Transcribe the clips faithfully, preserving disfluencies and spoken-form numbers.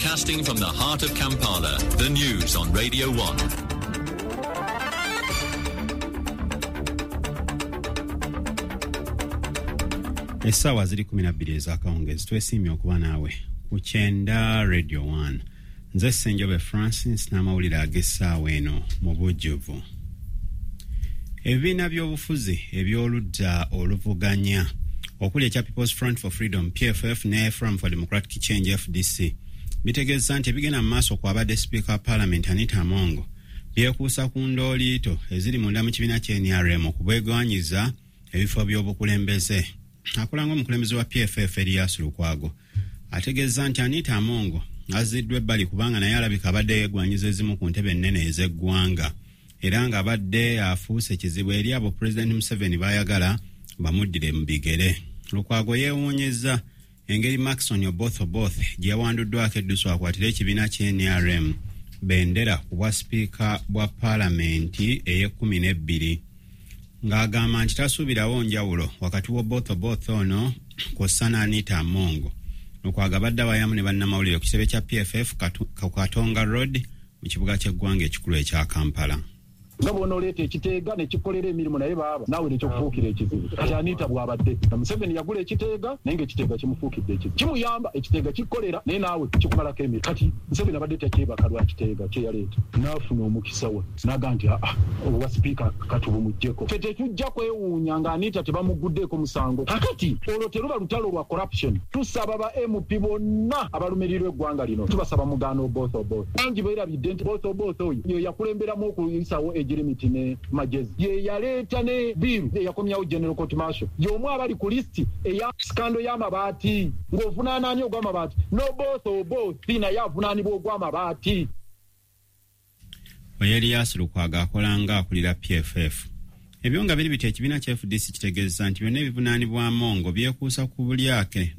Broadcasting from the heart of Kampala, the news on Radio one. Essaawa ziri kumi na bbiri ez'akawungeezi. Twesiimye okuba naawe ku kyenda Radio one. Nze Ssenjobe Francis n'amawulire ag'essaawa eno mu bujjuvu. Ebibiina by'obufuzi eby'oludda oluvuganya okuli ekya People's Front for Freedom P F F ne Forum for Democratic Change F D C bitegeeza nti ebigenda mu maaso kwabadde Sipiika wa Paalamenti Anita Among byekuusa ku ndooliito eziri munda mu kibiina kya N R M okubwegwanyiza ebifo by'obukulembeze. Akulanga omukulembeze wa P F F Erias Lukwago ategeeza nti Anita Among azziddwa ebbali kubanga naye alabika abadde yeegwanyiza ezimu ku ntebe ennene ez'eggwanga era ng'abadde afuuse kizibu eri abo Pulezidenti Museveni baayagala bamuddire mu bigere. Lukwago yeewuunyizza engeri Maxon Oboth Oboth gye yawanduddwako eddusu akwatire ekibiina kya N R M bendera ku bwa sipiika bwa paalamenti ey'ekkumi n'ebbiri, ng'agamba nti tasuubirawo njawulo wakati w'Oboth Oboth ono kw'ossa n'Anita Among. Lukwago abadde awayamu ne bannamawulire ku kitebe kya P F F ku Katonga Road mu kibuga ky'eggwanga ekikulu ekya Kampala. Nga bw'onooleeta ekiteega ne kikolera emirimu naye baaba naawe nekyokufuukira ekizibu. Kati Anita bw'abadde Museveni yagula ekiteega naye ng'ekiteega kimufuukidde ekizibu, kimuyamba ekiteega kikolera naye naawe kikumalako emirimu. Kati Museveni abadde takyebaka lwa kiteega kye yaleeta, n'afuna omukisa we n'aga nti aa obwa sipiika katubumuggyeko. Ffe tetujja kwewuunya nga Anita tebamuguddeeko musango. Kakati olwo teruba lutalo lwa corruption. Tusaba ba M P bonna abalumirirwa eggwanga lino, tubasaba mugaano Oboth Oboth. Bangi beerabidde nti Oboth Oboth oyo ye yakulemberamu okuyisawo Egirimiti ne Magezi, ye yaleeta ne bill eyakomyawo General Court Martial, y'omu abali ku lisiti eya sikando y'amabaati. Ng'ovunaana ani ogw'amabaati? N'Oboth Oboth naye avunaanibwa ogw'amabaati. Oyo Erias Lukwago akola nga akulira P F F. Ebyo nga biri bityo, ekibiina kya F D C kitegeeza nti byonna ebivunaanibwa Among byekuusa ku bulyake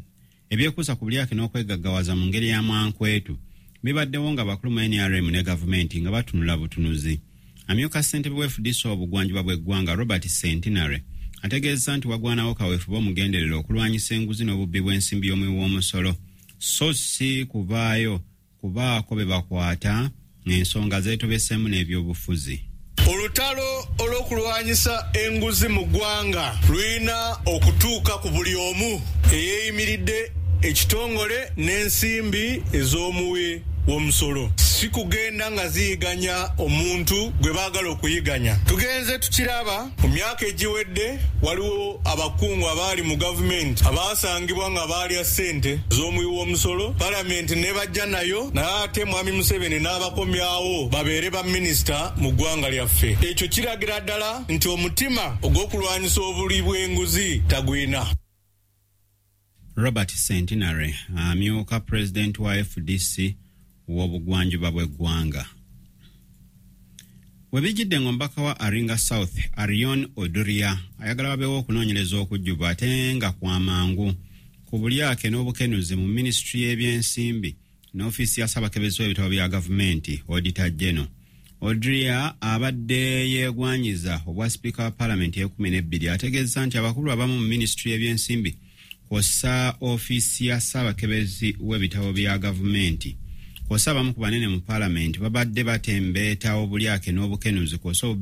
ebyekuusa ku bulyake n'okwegaggawaza mu ngeri ya mwankwetu bibaddewo nga bakulu mu N R M ne gavumenti nga batunula butunuzi. Amyuka ssentebe wa F D C obugwanjuba bw'eggwanga Robert Centenary ategeeza nti wagwanawo kaweefube omugenderera okulwanyisa enguzi n'obubbi bw'ensimbi y'omuwi w'omusolo, so si kuvaayo kubaako be bakwata ng'ensonga zeetobeseemu n'ebyobufuzi. Olutalo olw'okulwanyisa enguzi mu ggwanga lulina okutuuka ku buli omu eyeeyimiridde ekitongole n'ensimbi ez'omuwi w'omusolo, si kugenda nga ziyiganya omuntu gwe baagala okuyiganya. Tugenze tukiraba mu myaka egiwedde, waliwo abakungu abaali mu gavumenti abaasangibwa nga baalya ssente z'omuwi w'omusolo, palamenti ne bajja nayo, naye ate Mwami Museveni n'abakomyawo babeere baminisita mu ggwanga lyaffe. Ekyo kiragira ddala nti omutima ogw'okulwanyisa obuli bw'enguzi tagwina. Robert Centenary amyuka pulezidenti wa F D C w'obugwanjuba bw'eggwanga. We bijjidde ng'omubaka wa Aringa South Arion Oduria ayagala wabeewo okunoonyereza okujjuvu ate nga kwa mangu ku bulyake n'obukenuzi mu minisitule y'ebyensimbi n'ofiisi ya Ssaabakebezi w'ebitabo bya gavumenti Auditor General. Oduria abadde yeegwanyiza obwa sipiika wa paalamenti ey'ekkumi n'ebbiri ategeeza nti abakulu abamu mu minisitule y'ebyensimbi kw'ossa ofiisi ya Ssaabakebezi w'ebitabo bya gavumenti kw'ossa abamu ku banene mu paalamenti babadde batembeeta obulyake n'obukenuzi kw'ossa